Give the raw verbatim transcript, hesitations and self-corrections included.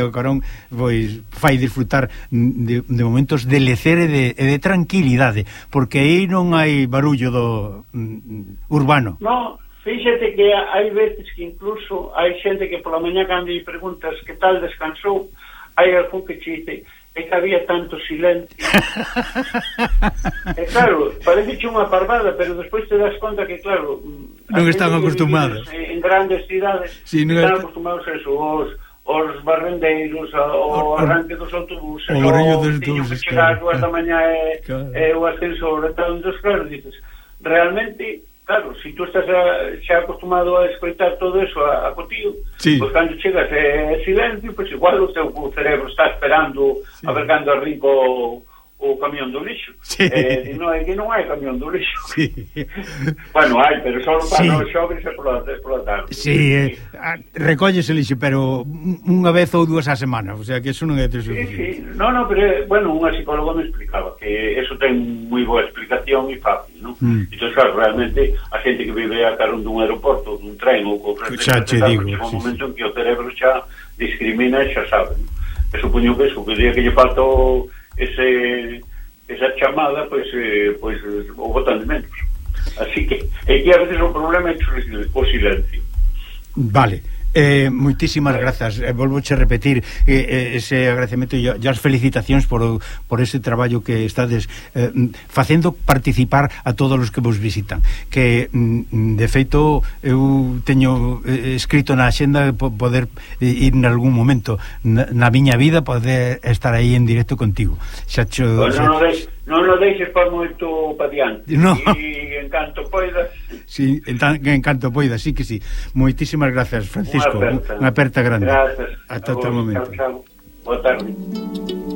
o Carón pois fai disfrutar de, de momentos de lecer e de, e de tranquilidade, porque aí non hai barullo do um, urbano. No, fíxate que hai veces que incluso hai xente que pola mañá cando lle preguntas que tal descansou, hai algún que che dice é que había tanto silencio. E claro, parece unha parvada, pero despois te das conta que claro, non están acostumados en grandes cidades, sí, no están est... acostumados a eso, os os barrendeiros, o arranque dos autobuses, o barullo dos autobuses, que chegar claro, dúas da mañá e, claro. e o ascensor e tal, entón, claro, dices, realmente, claro, se si tú estás a, xa acostumado a escoitar todo eso a, a cotío, sí. Pois cando chegas e eh, silencio, pois igual o teu o cerebro está esperando sí. A ver cando arrinco o, o camión do lixo. Sí. Eh, non, é que non hai camión do lixo. Sí. Bueno, hai, pero só para sí. Os xobres e pola, pola tarde. Sí, eh, recóllese lixo, pero unha vez ou dúas á semana, o sea, que eso non é suficiente. Sí, sí, no, no, pero, bueno, unha psicóloga me explicaba que eso ten moi boa explicación e fácil, non? Mm. Entón, claro, realmente, a xente que vive a carón dun aeroporto, dun tren ou co frente, xa te digo, chega un momento en que o cerebro xa discrimina e xa sabe, non? E supoño que eso, que o día que lle falta o ese esa chamada, pois pues, eh, pois pues, o botan de menos. Así que é que a veces o problema é o silencio. Vale. Eh, moitísimas grazas, eh, volvoche a repetir eh, ese agradecemento e as felicitacións por, por ese traballo que estades eh, facendo participar a todos os que vos visitan, que de feito eu teño eh, escrito na axenda poder ir en algún momento na, na miña vida poder estar aí en directo contigo. Xa cho, pues xa... non, deixes, non lo deixes para moito pa diante, no. E en canto poidas. Sí, en, tan, en canto poidas, sí que sí. Moitísimas grazas, Francisco. Unha aperta, unha aperta grande. Grazas. Ata outro momento. Chao, chao. Boa tarde.